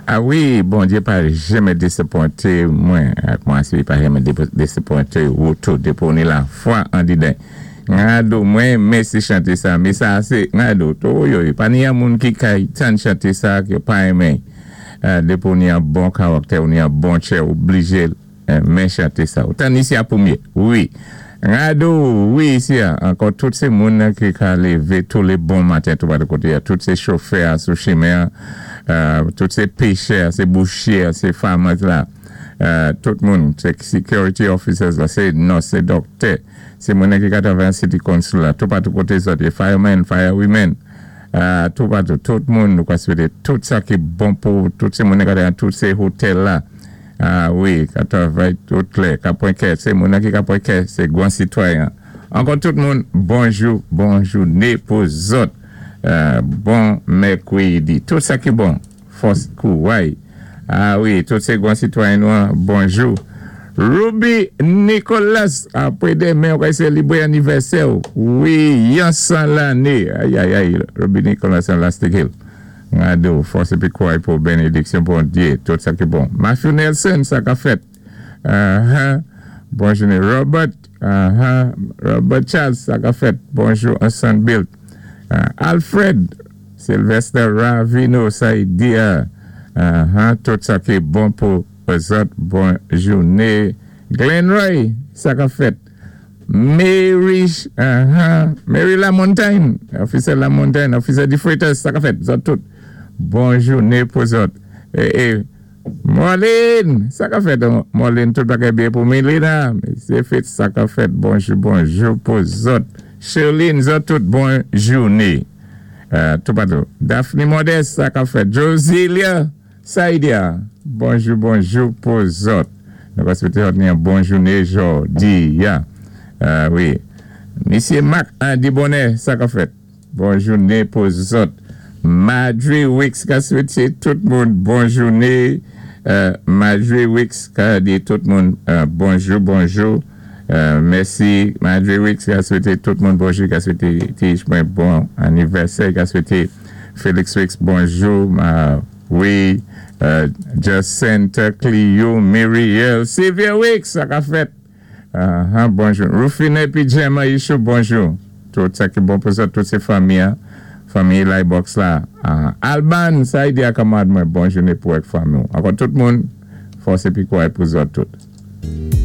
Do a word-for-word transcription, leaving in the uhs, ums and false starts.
A wi, Bondyé pa janmé désapwenté mwen, ak mwen si pa janmé désapwenté ou tou, dépi ou ni lafwa andidan. Ngado mwen, mèsi chanté sa, mé sa sé, ngado, tou yo, pa ni yon moun ki kay tann chanté sa ki pa enmen. Dépi ou ni yon bon karaktè, ou ni yon bon tchè, oblijé men chanté sa. Ou tann isi a pwémyé, wi. Ngado, wi, isi a, ankò tout sé moun ki ka lévé tou lé bon maten tou pa koté, tout sé chofè sou chimen, tout sé péchè, sé bouchyé, sé farmers la, tout moun, sé security officers la, sé nurse, sé dòktè, sé moun ki ka travay an city council la, tou patou koté zòt, firemen, firewomen, tou patou, tout moun nou ka swété, tout sa ki bon pou, tout sé moun ki ka travay tout sé hotel la, a wi, ka travay tout lè, ka pwan kè, sé moun ki ka pwan kè, sé gwan sitwayen. Ankò tout moun, bonjou, bonjou, né pou zòt, bon mèkwédi, tout sa ki bon, fòs kouway. A wi, tout sé gwan sitwayen nou, bonjou. Ruby Nicolas, apwé denmen, ou ka sélébré anivèsè wi, yon san lanné, ay ay ay, Ruby Nicolas an Lastic Hill. Ngado, fòs épi kouway pou bénédiksyon Bondyé, tout sa ki bon. Matthew Nelson, sa ka fèt. Uh-huh. Bonjou, Robert, uh-huh. Robert Charles, sa ka fèt. Bonjou, Ansan Bill. Uh, Alfred, Sylvester Ravino, Saidia. Uh-huh. Tout sa ki bon pou zòt, bon jouné. Glenn Roy, sa ka fèt. Mary, uh-huh. Mary Lamontagne, officer Lamontagne, officer di Freitas, sa ka fèt, zòt tout. Bon jouné pou zòt. Eh, eh, Marlene, sa ka fèt, Marlene, tout bagay byen pou Melina. Sé fèt, sa ka fèt, bonjou, bonjou pou zòt. Sherline, zòt tout, bon jouné. Uh, tou patou. Daphne Modeste, sa ka fèt. Josilia, Saidia, bonjou, bonjou pou zòt. Nou ka swété yon bon jouné jòdi a. Uh, wi. Misyé Marc Andy Bonnet, sa ka fèt. Bon jouné pou zòt. Madre Wicks ka swété tout moun bon jouné. Uh, Madre Wicks ka di tout moun uh, bonjou, bonjou. Uh, mèsi. Madre Wicks ka swété tout moun bonjou, ka swété Tish mwen bon anivèsè, ka swété Felix Wicks bonjou. Uh, wi, uh, Jacinta, Clio, Muriel, Sylvia Wicks, sa ka fèt. Uh, bonjou. Rufine pi Gemma Ishu, bonjou. Tout sa ki bon pou zòt, tout sé fanmi, hein. Fanmi Box la. Uh, Alban, sa yi di a kamad mwen, bon jouné pou ek fanmi. Ankò tout moun, fòs épi kouway pou zòt tout.